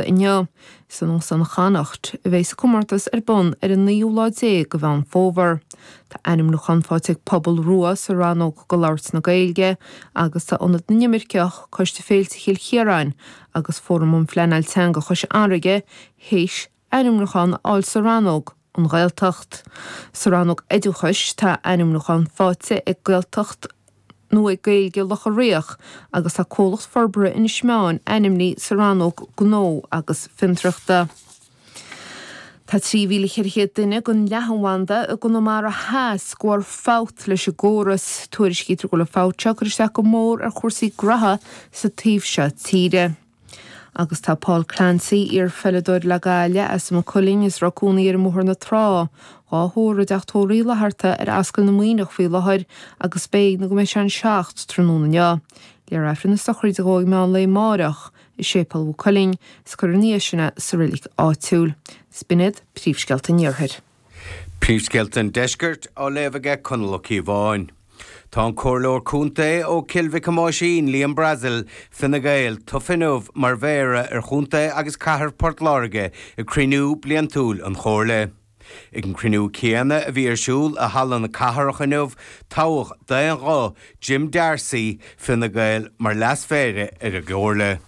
Gaeltachta inniu. Is in Óstán Chonnacht a bheas an comórtas ar bun ar an naoú lá déag de Mheán Fómhair. Tá ainmniúchán faighte ag Pobal Rua sa rannóg do labhairt na Gaeilge agus tá Ionad na nImirceach, Coiste Féilte Chill Chiaráin agus Fóram um Phleanáil Teanga Chois Fharraige théis ainmniúchán a fháil sa rannóg An Ghaeltacht. Sa rannóg Oideachais tá ainmniúchán faighte ag Gaeltacht nó ag Gaeilge Locha Riach agus tá Comhlacht Forbartha Inis Meáin ainmnithe sa rannóg Gnó agus Fiontraíochta. Tá 3,400 duine den leathanbhanda i gConamara Theas de bharr fabht leis an gcóras. Tuairiscítear go bhfuil an fabht seo ag cur isteach go mór ar chúrsaí graithe sa taobh seo tíre. Agus tá Paul Clancy, iar-pheileadóir le Gaillimh as Maigh Cuilinn is a raibh cónaí air i mBóthar na Trá, dhá thórramh i dTeach Tórraimh Uí Fhlatharta ar Ascaill na Muimhneach faoi láthair agus beidh nó go mbeidh sé an 7 tráthnóna inniu. Léifear Aifreann na sochraide dhó ag meán lae amáireach i Séipéal Mhaigh Cuilinn is cuirfear ina dhiaidh sin é sa reilig áitiúil. Is b'in iad príomhscéalta an Iarthair. Príomhscéalta an Deiscirt á léamh aige Conall Ó Cíobháin. Tá an Comhairleoir Contae ó Cill Mhic Thomáisín, Liam Brassil, Fine Gael, tofa inniu mar Mhéara ar Chontae agus Cathair Port Láirge ag cruinniú bliantúil an Chomhairle. Ag an cruinniú céanna a bhí ar siúl i Halla na Cathrach inniu, toghadh d'aon ghuth Jim D'Arcy, Fine Gael, mar Leas-Mhéara ar an gComhairle.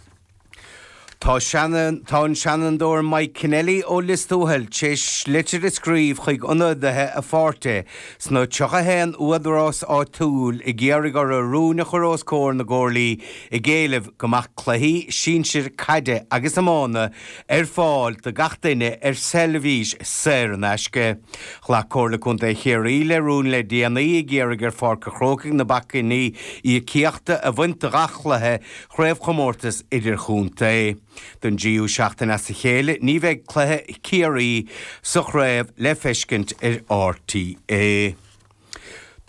Tá tá an Seanadóir Mike Kennelly ó Lios Tuathail tar éis litir a scríobh chuig ionadaithe a pháirtí sna 31 údarás áitiúil ag iarraidh orthu rúin a chur os comhair na gcomhairlí ag éileamh go mbeadh cluichí sinsir caide agus iomána ar fáil do gach duine ar seirbhís saor in aisce. Ghlac Comhairle Contae Chiarraí le rún le déanaí ag iarraidh ar Pháirc an Chrócaigh na bacainní íocaíochta a bhaint de ghach chluiche chraobhchomórtas idirchontae. Don dtríú seachtain as a chéile ní bheidh cluiche Chiarraí sa chraobh le feiscint ar RTÉ.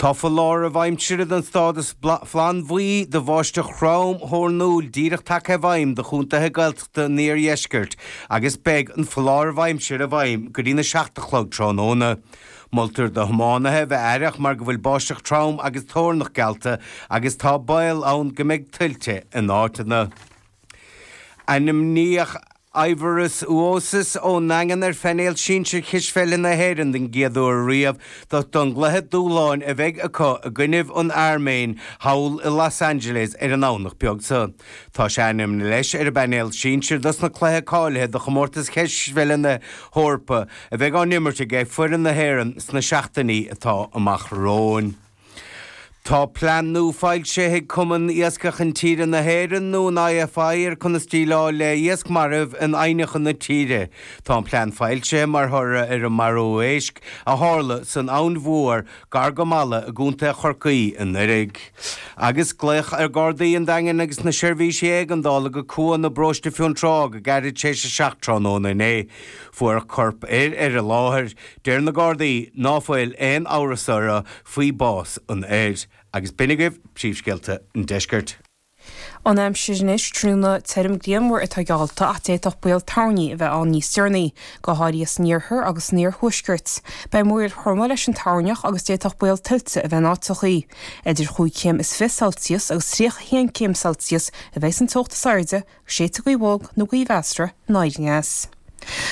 Tá foláireamh aimsire den stádas flannbhuí do bháisteach throm thoirniúil díreach tagtha i bhfeidhm do chontaetha Gaeltachta an iardheiscirt agus beidh an foláireamh aimsire i bhfeidhm go dtína seacht a chlog tráthnóna. Moltar do thiománaithe a bheith aireach mar go bhfuil báisteach trom agus toirneach geallta agus tá baol ann go mbeidh tuilte in áiteanna. Ainmníodh Aivaras Uosis ón nDaingean ar phainéal sinsir Chispheile na hÉireann den gcéad uair riamh don gcluiche dúshláin a bheidh acu i gcoinnibh an Airméin thall i Los Angeles ar an nDomhnach beag seo. Tá sé ainmnithe leis ar an bpainéal sinsir dos na cluichí cáilithe do chomórtas Chispheile na hEorpa a bheidh á n-imirt aige foireann na hÉireann sna seachtainí atá amach romhainn. Tá plean nua foilsithe ag Cumann Iascach Intíre na hÉireann, nó an IFI, ar conas déileáil le iasc marbh in aibhneacha na tíre. Tá an plean foilsithe mar thoradh ar an marú éisc a tharla san Abhainn Mhór gar go Mala i gContae Chorcaí anuraidh. Agus glaodh ar Ghardaí an Daingin agus na seirbhísí éigeandála go Cuan i bparóiste Fionntrá go gairid tar éis a 7 tráthnóna inné. Fuarthas corp fhir ar an láthair. Deir na Gardaí ná fuil aon amhras orthu faoi bás an fhir. Agus b'in agaibh príomhscéalta an deiscirt. An aimsir anois, tráthnóna tirim grianmhar atá geallta ach d'fhéadfadh baol toirní a bheith ann níos deireanaí, go háirithe san iarthar agus san iarthuaisceart. Beidh múraíl throma leis an toirneach agus d'fhéadfadh baol tuilte a bheith in áiteachaí. Idir chúig chéim is 20 Celsius agus 31 céim Celsius a bheidh an teocht is airde, Séidfidh gaoth bhog nó gaoth mheasartha anoir aneas.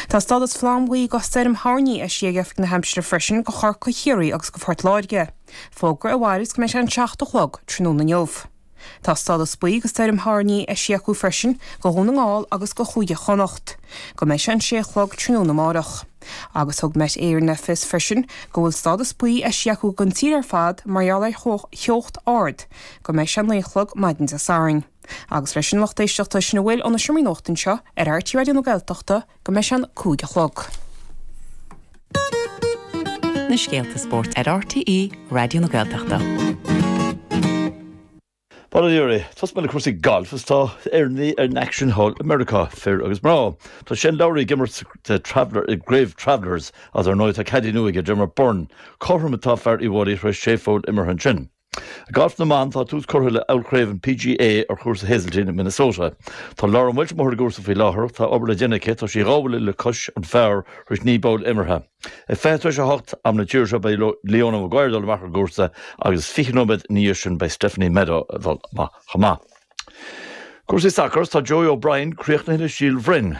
Tá stádas flannbhuí do stoirm thoirní eisithe ag Oifig na hAimsire freisin do Chorcaigh, Chiarraí agus do Phort Láirge, fógra a mhairfeas go mbeidh sé an 7 a chlog tráthnóna inniu. Tá stádas buí do stoirm thoirní eisithe acu freisin do Dhún na nGall agus do Chúige Chonnacht, go mbeidh sé an 6 a chlog tráthnóna amárach. Agus thug Met Éireann le fios freisin go bhfuil stádas buí eisithe acu don tír ar fad mar gheall ar theocht ard, go mbeidh sé 9 a chlog maidin Dé Sathairn. Agus leis an lucht éisteachta, sin a bhfuil ó na Seomraí Nuachta anseo ar RTÉ Raidió na Gaeltachta go mbeidh sé an 5 a chlog. Na scéalta spóirt ar RTÉ Raidió na Gaeltachta. Bail ó Dhia oraibh. Tosóidh mé le cúrsaí gailf is tá Éireannaigh in aicsean thall i Meiriceá, fir agus mná. Tá Shane Lowry ag imirt sa Traveller, i gCraobh Travellers agus ar ndóigh tá caddie nua aige, Diarmaid Byrne. Cothrom atá fear Uíbh Fhailí tar éis sé pholl imeartha ansin. I ngalf na mban, tá tús curtha le Ollchraobh an PGA ar chúrsa Hazeltine i Minnesota. Tá Lauren Walsh amuigh ar an gcúrsa faoi láthair. Tá obair le déanamh aici. Tá sí dhá bhuille le cois an phar tar éis 9 bpoll imeartha. Ag 20 tar éis 8, am na tíre seo, beidh Leona Maguire ag dul amach ar an gcúrsa agus 20 nóiméad ina dhiaidh sin beidh Stephanie Meadow ag dul amach chomh maith. Cúrsaí sacair, tá Joey O'Brien críochnaithe le Síol Bhroin.